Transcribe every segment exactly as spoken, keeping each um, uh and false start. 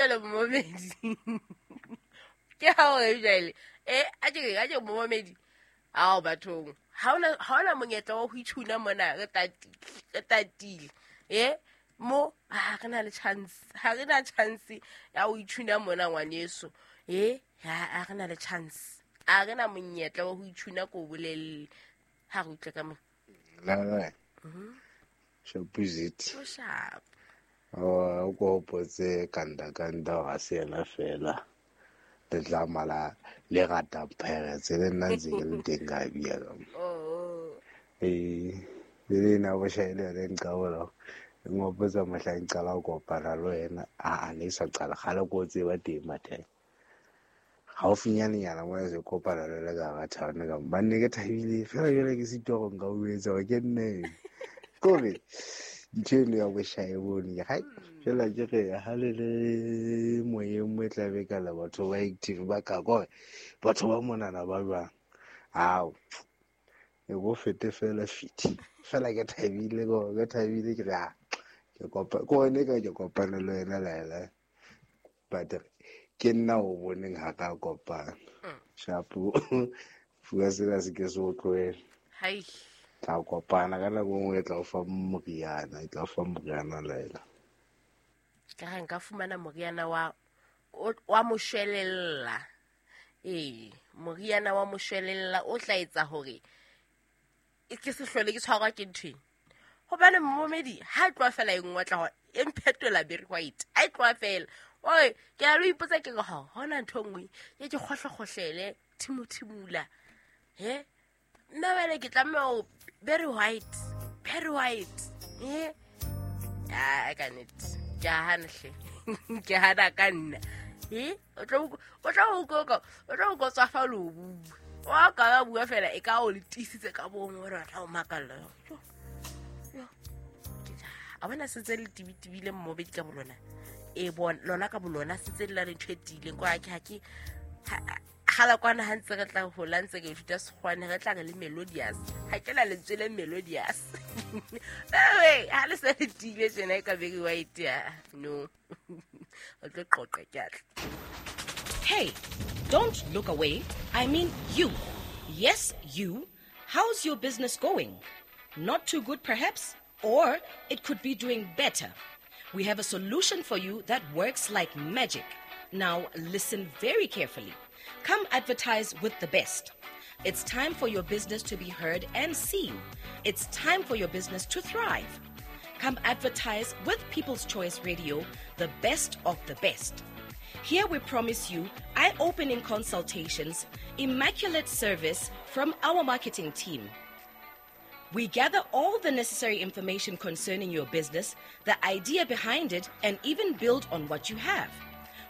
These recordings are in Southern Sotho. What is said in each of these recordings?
Jwale momamedi, ke ha o jwale e a ke a ke momamedi ao bathong, ha ona ha ona monyetla wa ho itshuna mona, re tatile re tatile e mo ha re na le chance, ha re na chance ya ho itshuna mona ngwaneso. E ha re na le chance, a re na monyetla wa ho itshuna ko bolelle ha re utlwe ka mo la la shapuzit o sharp. O ko hopotse kanda kanda ga se yena fela le tla mala le rata Pirates le nna ntse ke le teng ka bia ka oh eh le na bo shaele re nqabola ngopotsa mohla nqala go kopana le wena a a ne sa qala gale ko tseba teng mathe haufinyane nyana mo se kopana le le ka ga thana ka ba nne ke thabile fela jole ke sitwa go nka o etsa ke nne kore ntho eno ya boshae bone ke hai fela ke re ha le le moyeng mo e tla be ka la batho ba active ba ka kore batho ba monana ba jwang ao e go fete fela fiti fela ke thabile go ke thabile ke re a ke kopa ko ne ka ke kopana le wena laela but ke nna o boneng ha ka kopana shapo fuwa sena se ke se o tlohele hai tla kopana ka nako nngwe e tla o fa moriana e tla o fa moriana laela ka ha nka fumana moriana wa wa moshwelella ee moriana wa moshwelella o tla etsa hore ke se hlole ke tshwarwa ke ntho ena hobane momedi ha e tloha fela e nngwe tla hore e mphetola very white a e tloha fela oi ke a lo ipotsa ke re ha hona ntho nngwe e ke kgohlekgohlele thimothimula he nna wele ke tlameha ho very white very white eh a ka nnete ke a hana hle ke hana ka nna eh o tlo o tlo o ko o tlo ko tswa fa lo bua wa ka ba bua fela e ka o le tiisitse ka bongwe hore batla o makalla yo yo a bona sentse le tibitibile mmobedi ka bolona e bona lona ka bolona sentse le la le ntho e tiileng kwa ke ha ke gala kwana ha ntse re tla hola ntse ke ithuta Sekgowane re tla re le melodious ha ke la lentswe le melodious ewe ha le se le tiile tjena e ka very white ya no o tlo qoqa ke atla. Hey, don't look away. I mean you. Yes, you. How's your business going? Not too good perhaps, or it could be doing better. We have a solution for you that works like magic. Now listen very carefully. Come advertise with the best. It's time for your business to be heard and seen. It's time for your business to thrive. Come advertise with People's Choice Radio, the best of the best. Here we promise you eye-opening consultations, immaculate service from our marketing team. We gather all the necessary information concerning your business, the idea behind it, and even build on what you have.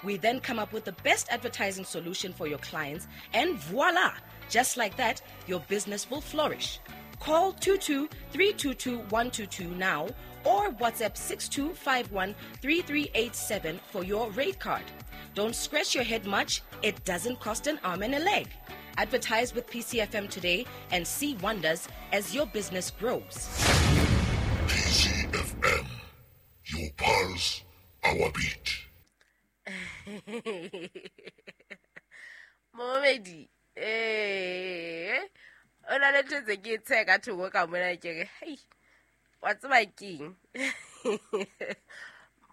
We then come up with the best advertising solution for your clients, and voila! Just like that, your business will flourish. Call two two three two two one two two now or WhatsApp six two five one three three eight seven for your rate card. Don't scratch your head much. It doesn't cost an arm and a leg. Advertise with P C F M today and see wonders as your business grows. P C F M, your pulse, our beat. Momedi, eh, o na le ntho tse ke tshe ka thoko ka mona ke re, hei, wa tseba keng?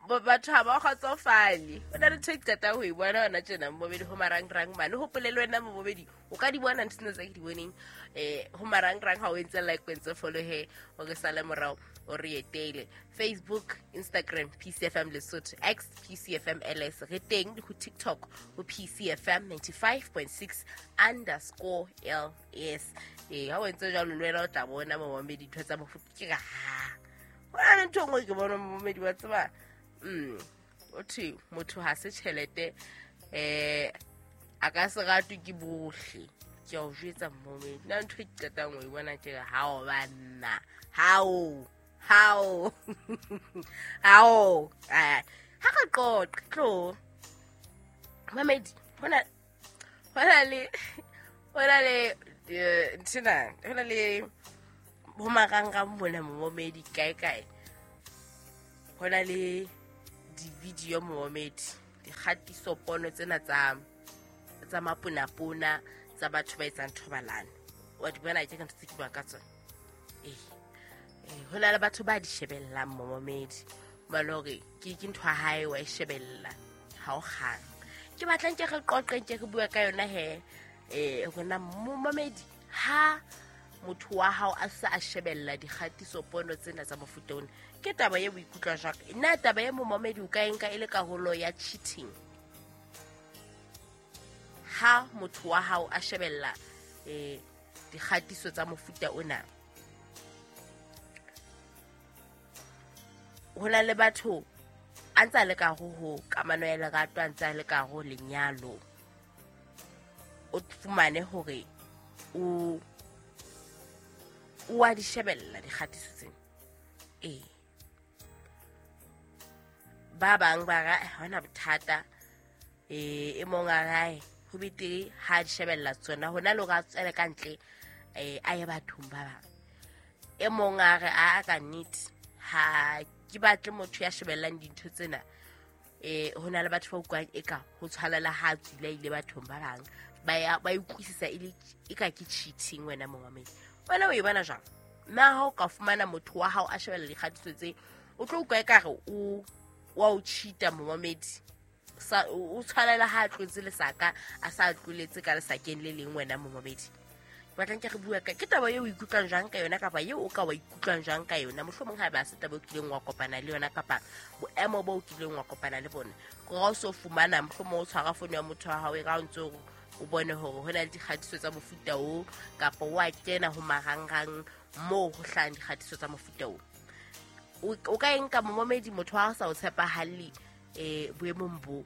Batho ha ba kgotsofale. Ho na le ntho e ke qetang ho e bona hona tjena momedi ho marangrang mane. Hopole le wena momedi, o ka di bona ntho tsena tse ke di boneng eh ho marangrang ha o entse like, o entse follow he, o re sale morao, o re etele. Facebook, Instagram, P C F M Lesotho, X, P C F M L S. Re teng le ho TikTok ho P C F M ninety-five point six underscore L S. Eh ha o entse jwalo le wena o tla bona momedi ntho tsa mofuta ke ka ha. Ho na le ntho e nngwe ke bona momedi wa tseba. Mm o thwe motho ha se tjhelete eh a ka se ratwe ke bohle. Ke a o jwetsa momedi nna ntho e ke qetang ho e bona ke re hao banna hao hao hao ha re qoqe tlo mamedi hona hona le hona le nthena hona le ho marangrang mona momedi kae kae hona le di-video momedi dikgatiso pono tsena tsa tsa maponapona tsa batho ba etsang thobalano. Wa di bona ke ka ntho tse ke bua ka tsona. Eh ho na le batho ba di shebellang momamedi ba le hore ke ke ntho ya hae wa e shebella ha o kgang. Ke batlang ke re qoqeng ke re bua ka yona he eh hona momamedi ha motho wa hao a sa a shebella dikgatiso pono tsena tsa mofuta ona ke taba ye o ikutlwa jwang? Na taba ye momamedi o ka e nka e le karolo ya cheating ha motho wa hao a shebella eh dikgatiso tsa mofuta ona? Ho na le batho a ntsa le ka ho ho kamano ya lerato, a ntsa le ka ho lenyalo, o fumane hore o o a di shebella dikgatiso tsena. Eh ba bang ba ra ha hona bothata, eh e mong a rae ho betere ha di shebella tsona hona le hore a tswele ka ntle eh a ye bathong ba bang. E mong a re a ka nnete ha ke batle motho ya shebellang dintho tsena. Eh hona le batho ba utlwang eka ho tshwanela ha tswile ile bathong ba bang ba ya ba utlwisisa e le eka ke cheating. Wena momamedi wena o e bona jwang? Na ha o ka fumana motho wa hao a shebella dikgatiso tse o tlo utlwa ekare o wa o cheata momamedi? Sa o tshwanela ha tlotse lesaka a sa tloletse ka lesakeng le leng. Wena momamedi batlang ke re bua ka ke taba eo o ikutlwang jwang ka yona kapa eo o ka wa ikutlwang jwang ka yona? Mohlomong ha ba se taba o kileng wa kopana le yona kapa boemo bo o kileng wa kopana le bona. Gore ha o so fumana mohlomong o tshwara fono ya motho wa hao e ra o ntso o bone hore ho na le dikgatiso tsa mofuta o kapa wa kena ho marangrang moo ho hlahang dikgatiso tsa mofuta o. O ka e nka momamedi motho wa hao sa o tshepahalle eh boemong bo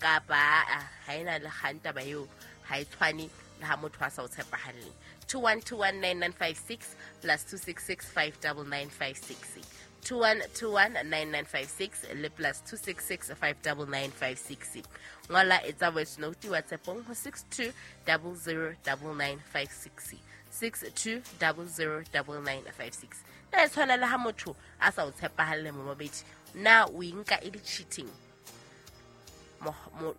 kapa ha ena le kgang taba eo ha e tshwane le ha motho a sa o tshepahalle. two one two one nine nine five six plus two six six five nine nine five six two one two one nine nine five six le plus two six six five nine nine five six. Ngola etsa voice note WhatsAppong ho six two zero zero nine nine five six six two zero zero nine nine five six. Na e tshwana le ha motho a sa o tshepahalle momamedi, na o e nka e le cheating?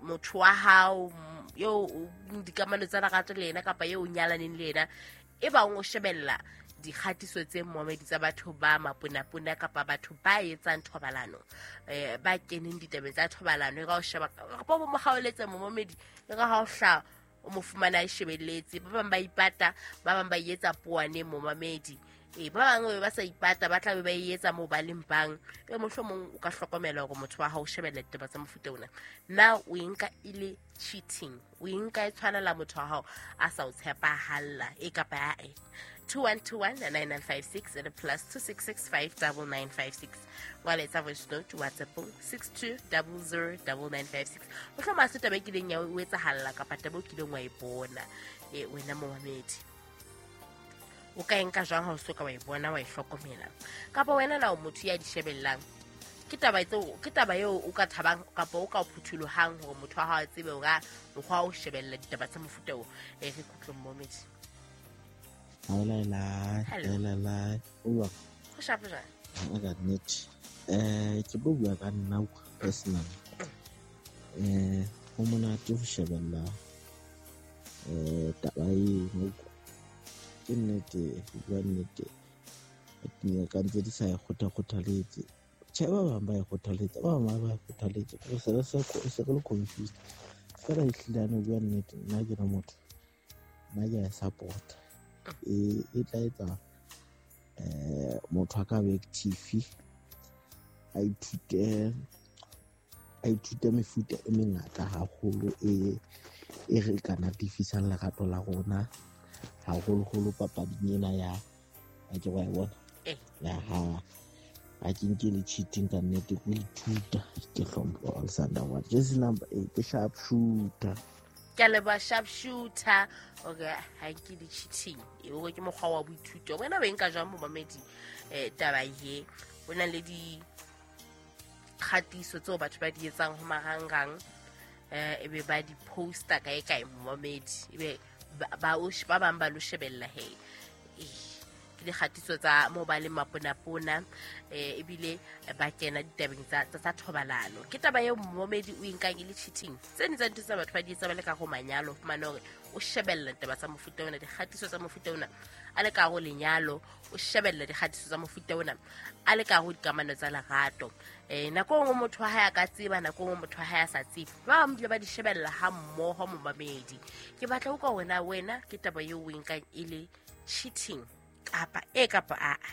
Motho wa hao yo dikamano tsa lerato le yena kapa eo o nyalaneng le yena e bang o shebella dikgatiso tse momamedi tsa batho ba maponapona kapa batho ba etsang thobalano eh ba keneng ditabeng tsa thobalano e ka o sheba kapa bo mo kgaoletse momamedi e ka ha o hla o mo fumana e shebelletse. Ba bang ba ipata, ba bang ba etsa poane momamedi. E ba bang ba sa ipata ba tla be ba etsa mo ba leng bang. E mohlomong o ka hlokomela hore motho wa hao o shebella ditaba tsa mofuta ona. Na o e nka e le cheating? O e nka e tshwanela motho wa hao a sa o tshepahalla e kapa e? two one two one nine nine five six and plus two six six five nine nine five six. Ngola etsa voice note WhatsApp six two zero zero nine nine five six. Mohlomong ha se taba e kileng ya o etsahalla kapa taba o kileng wa e bona e wena momamedi. O ka e nka jwang ha o soka wa e bona wa e hlokomela? Kapa wena na o motho ya di shebellang? Ke taba tseo ke taba eo o ka thabang kapa o ka o phuthulohang hore motho wa hao a tsebe hore mokgwa o shebella ditaba tsa mofuta o. E re kutlwe momamedi. Hello, hello, hello. Go sharp jwang? Ka nnete. Eh ke bua ka nna personal. Eh ho monate ho shebella eh taba eno. Ke nnete, ho bua nnete. Dingaka ntse di sa e kgotha-kgothaletse. Tjhe, ba bang ba e kgothaletsa, ba bang ba e kgothaletse. Re se re se re le confused. Feela ehlile ho bua nnete, nna ke le motho, nna ke a e support-a. E e tla etsa eh motho a ka be active, a ithute a ithute mefuta e mengata haholo e e re ka natefisang lerato la rona haholoholo papading ena ya a ke wa e bona ya ha ha ke nke le cheating ka nnete ke ithuta ke hlompho Alexander wa jersey number eight ke sharp shooter. Ke le ba sharp shooter okay ha ke di cheating e o ke mokgwa wa boithuto. Wena o nka jwang momamedi eh taba ye o na le di kgatiso tseo batho ba di etsang ho marangrang eh ebe ba di poster kae kae momamedi ebe ba o ba bang ba lo shebella he. Ke dikgatiso tsa moo ba leng maponapona, eh ebile ba kena ditabeng tsa tsa thobalano. Ke taba eo momedi o inkang e le cheating. Tse ding tsa dintho tsa batho ba di etsa ba le ka go manyalo, fumane hore o shebella ditaba tsa mofuta ona, dikgatiso tsa mofuta ona a le ka go lenyalo, o shebella dikgatiso tsa mofuta ona a le ka go dikamano tsa lerato. Eh nako nngwe motho wa hae a ka tseba, nako nngwe motho wa hae a sa tsebe, ba bang bile ba di shebella ha mmoho momamedi. Ke batla ho utlwa wena, wena ke taba eo o e nkang e le cheating kapa e kapa a a.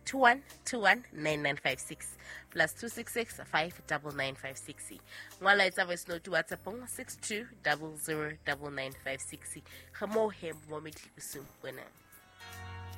two one two one nine nine five six plus two six six five double nine five six. Ngwala etsa voice note WhatsApp six two double zero double nine five six. Re mo he momedi bosiung bona.